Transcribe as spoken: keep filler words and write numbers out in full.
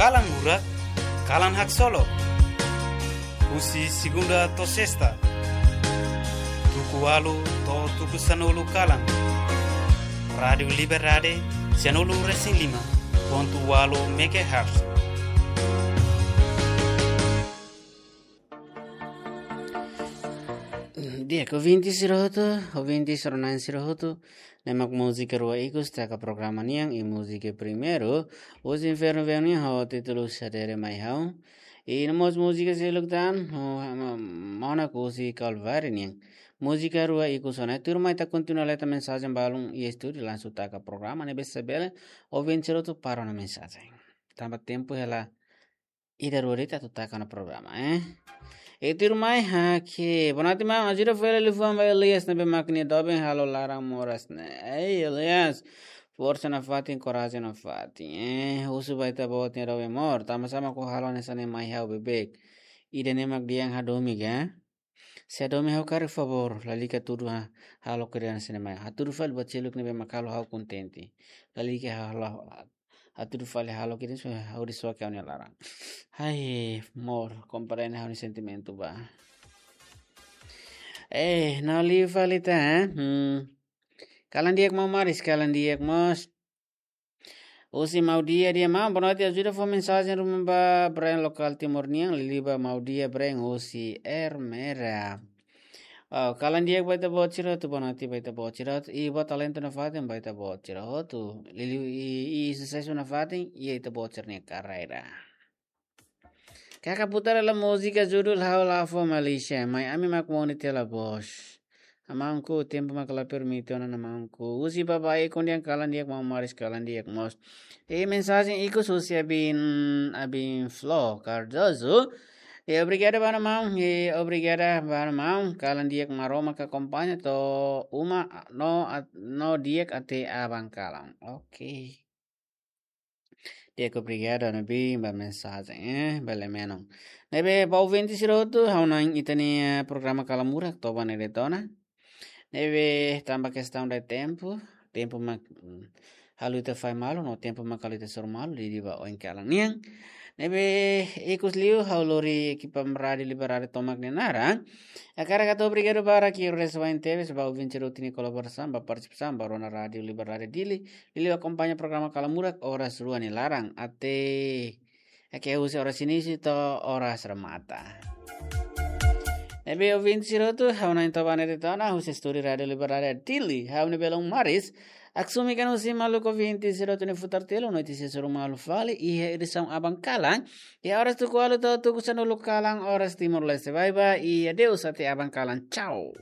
Kalan Murak, kalan haksolok. Husi segunda to'o sesta, tuku ualu to'o tuku sanulu kalan. Rádiu Liberdade, sanulu resin lima pontu ualu megahertz. Di'ak, ouvinte sira hotu, ouvinte sira-na'in sira hotu, ne'e mak múzika rua ikus taka programa nian, i múzika primeiru, Os Inferno Vem Nian, ho títulu Sadere Mai Ha'u. I no mós múzika seluk tan, ho, ma-, Mona Kusi Kalvari nian. Múzika rua ikus ona. Tuirmai ita kontinua leta mensajen balun iha estúdiu, langsung taka programa, ne'ebé se bele ouvinte sira hotu para ona mensajen. Tanba tempu hela ida rua de'it atu taka ona programa, eh. I tuirmai ha'u ke, boa noite, maun, ajuda fali liafuan ba Elias ne'ebé mak nia doben halo laran moras ne'e. Ei, Elias, forsa nafatin, korajen nafatin, eh. Husu ba ita-boot nia doben mós, tanba sá mak ó halo hanesan ne'e mai ha'u beibeik. Ida-ne'e mak dehan hadomi ka? Se hadomi ha'u karik favór, lalika hatudu ha-, halo kriansa ne'e mai. Hatudu fali ba seluk ne'ebé mak halo ha'u kontente. Lalika halo, hatudu fali halo kriansa, ha'u dehan soke ha'u-nia laran. Ai, amor, komprende ha'u-nia sentimentu ba. Eh, no liu fali ita, eh? Hmm. Kalan di'ak maun Maris, kalan di'ak mós. Husi Mau Dia, dia maun, boa noite, ajuda fó mensajen ruma ba Brian lokál Timor nian, liuliu ba Mau Dia Brian husi Ermera. Oh, kalan di'ak ba ita-boot sira hotu, boa noite ba ita-boot sira hotu. I buat talentu nafatin ba ita-boot sira hotu. Liuliu i, i susesu nafatin, i ita-boot sira-nia karreira. Kaka putar hela múzika judul Ha'u La Fó Malaysia, mai ami mak moni tela bos. Amangku, tempu mak la permite ona amangku. Husi baba e kondian kalan di'ak maun Maris kalan di'ak mós. I mensajen ikus husi Abin, Abin Flo Cardoso. I obrigada ba maun, i obrigada ba maun. Kalan di'ak Maromak akompaña to'o uma no at-, no di'ak até aban kalan. Oke. Di'ak, obrigadu, ne'ebé ba mensajen, eh, bele menon. Ne'ebé ba ouvinte sira hotu, ha'u hanoin ita-nia programa Kalan Murak to'o ba ne'e de'it ona. Ne'ebé tanba kestaun de tempu, tempu mak, mm, halo ita fahe malu, no tempu mak halo ita soru malu, liuliu ba oin kalan nian. Ne'ebé ikus liu, ha'u lori ekipa Rádiu Liberdade tomak nia naran. Hakarak hato'o obrigadu barak, i resawain tebes ba ouvinte sira hotu nia kolaborasaun, ba partisipasaun, ba rona Rádiu Liberdade Dili, liuliu akompaña programa Kalan Murak oras rua nia laran, até, oke, husi oras inísiu to'o oras remata. Ne'ebé ouvinte sira hotu, ha'u hanoin to'o ba ne'e de'it ona, husi estúdiu Rádiu Liberdade Dili, ha'u-nia belun Maris, Aksumi kan husi maluk ouvinte sira hotu nia futar telu, no ita sei soru malu fali iha edisaun aban kalan. Iha oras tuku ualu to'o tuku sanulu kalan, oras Timor-Leste. Bye bye, i adeus até aban kalan. Tchau.